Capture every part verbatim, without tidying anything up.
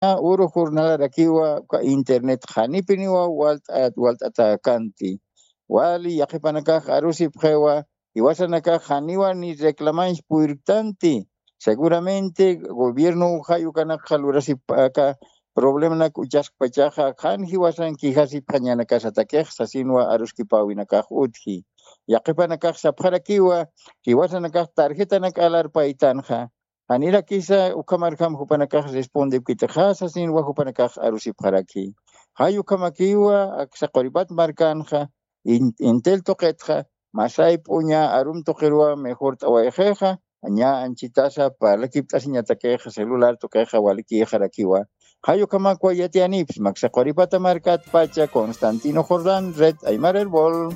uru jornalarakiwa uka internet janipiniwa walt'at walt'atakanti. Wali yaqhipanakax arusipxiwa, jiwasanakax janiwa ni reclamanch puyrktanti. Seguramente gobierno jayukanakxa lurasipaka problemanak uchaskpachaxa jan jiwasan kijasipxañanakasatakix sasinwa aruskipawinakax utji. Yaqhipanakax sapxarakiwa, jiwasanakax tarjetanak alarpaytanxa. Janirakisa ukhamarjam jupanakax respondipkitaxa sasinwa jupanakax arusipxaraki. Jay ukhamakiwa aksa quripat markanxa, intel tuqitxa masay p'uña arum tuqirwa mejor t'awayxixa, ña anchitasa parlakipt'asiñatakixa celular tuqixa walikixarakiwa. Jay ukhamakwa yatiyanipis maksa quripata markatpacha constantino jordan red aymar herbol.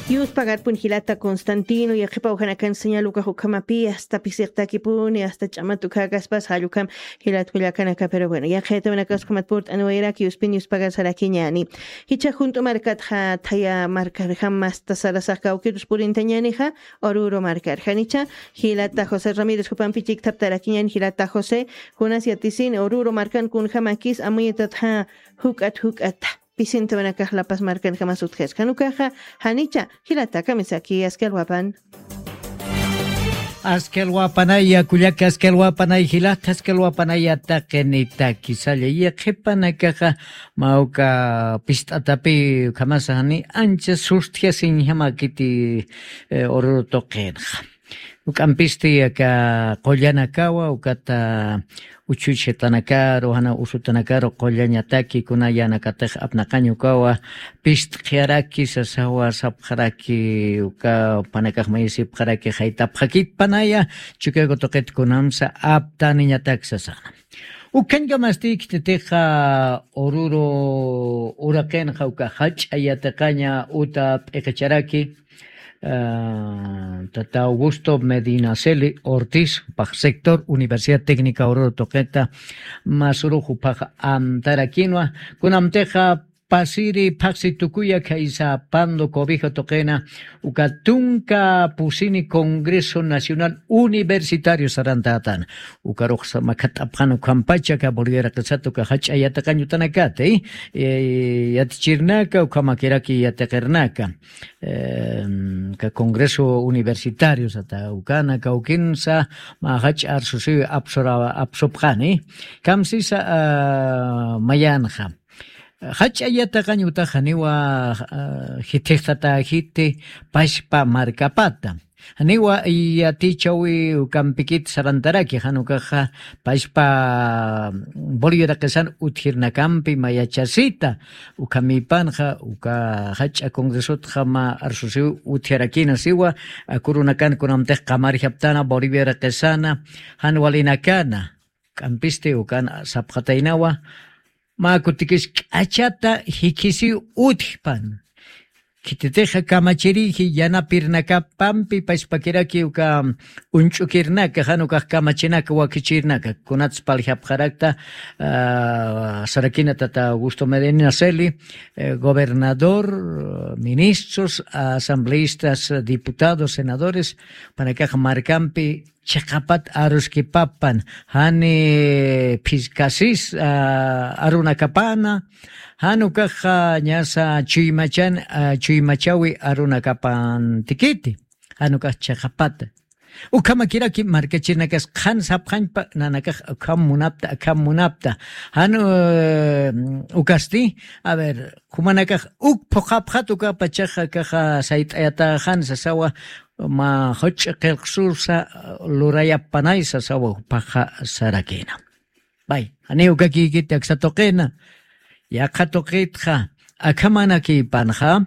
Yuspagarpun jilata constantino yaqhipaw janakan señal ukax ukhamapi asta pisiqtakipuni asta ch'amat ukhakaspas jallukam. Jilat kullakanaka pero bueno yaqhayatawnakaskhamat purt'aniwayrak yuspin yuspagarsarakiñani. Jichha junt'u markatxa thaya markarjam asta sarasax kawkirus purintañanixa. Oruro markarjanicha jilata josé ramírez jupampi chikthaptarakiñan jilata josé. Kunas yatisin oruro markan kunjamakis amuyatatxa juk'at juk'ata pisintawanakax lapas markanjamas utjaskan ukaxa. Janicha jilata kamisaki askalwapan. Askalwapanaya kullaka askalwapanay jilata askalwapanaya taqinitaki salla yaqhipanakaxa. Mawka pist'atapi ukhamasa jani ancha sustjasiñjamakiti. Ururu tuqinxa uk'ampisti aka qullanakawa ukata uchuchatanakaru jana usutanakaru qullañataki kuna yanakatix apnaqañukawa. Pistqiyaraki sasawa sapxaraki uka panakax mayisipxaraki jaytapxakit panaya. Chukayku tuqit kunamsa aptaniñatak sasana. Ukhañkamasti khititixa ururu uraqinxa uka jach'a yatiqaña uta p'iqicharaki tata augusto medinaceli ortiz pax sector universidad técnica ururu tuqita. Masurux upax amtarakinwa kunamtixa pasiri phaxsi tukuya khaysa pando cobijo tuqina uka tunka pusini congreso nacional universitario sarantatana. Ukarux makhat'apxan ukhampacha ka bolivia raqisata uka jach'a yatiqañutanakati yatichirnaka ukhamakiraki yatiqirnaka ka congreso universitario sata ukana kawkinsa mä jach'a arsusiw apsupxani. Kamsisa mayanxa jach'a yatiqañ utax janiwa jithixtatäjiti pachpa markapata janiwa yatichawi ukampikit sarantaraki jan ukaxa pachpa bolivia raqisan utjirnakampi mayachasita. Ukhamipanxa uka jach'a congresotxa mä arsusiw utjarakina siwa. Akurunakan kunamtix qamarjaptana bolivia raqisana jan walinakana k'ampisti ukan sapxataynawa. Mä kutikis k'achata jikhisiw utjpan khititixa kamachiriji yanapirnakapampi pachpakiraki uka uñch'ukirnaka jan ukax kamachinaka wakichirnaka kunats paljapxarakta. Sarakina tata augusto medina celi gobernador, ministros, asambleistas, diputados, senadores panakax markampi chiqapat aruskipapan jani phiskasis arunakapana. Jan ukaxa ñasa chuymachan chuymachawi arunakapantikiti jan ukax chiqapata. Ukhamakiraki markachirinakas qhan sapxañpa nanakax ukham munapta akham munapta. Jan ukasti a ver jumanakax uk phuqhapxat ukapachaxa kaxa sayt'ayataxan sasawa mä juch'i qillqsusa lurayapanay sasawa jupaxa sarakina. Bay janiw kakïkiti aksa tuqina yaqha tuqitxa akhamanakïpanxa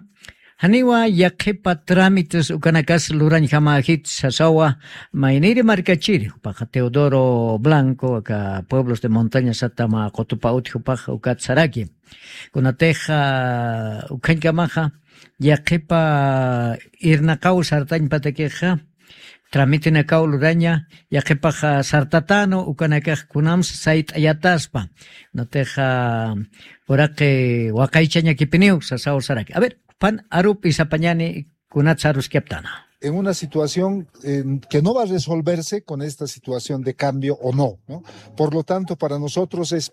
janiwa yaqhipa trámites ukanakas lurañjamäjit sasawa. Mayniri markachiri jupaxa teodoro blanco aka pueblos de montaña satama qutupa utji jupaxa ukat saraki. Kunatixa ukhañkamaxa yaqhipa irnaqaw sartañpatakixa tramitinakaw luraña yaqhipaxa sartatanu ukanakax kunamsa sayt'ayataspa. Natixa uraqi waqaychañakipiniw sasaw saraki a ver pan arupi sapañani. kunat saruskaptana. En una situación eh, que no va a resolverse con esta situación de cambio o no, ¿no? Por lo tanto, para nosotros es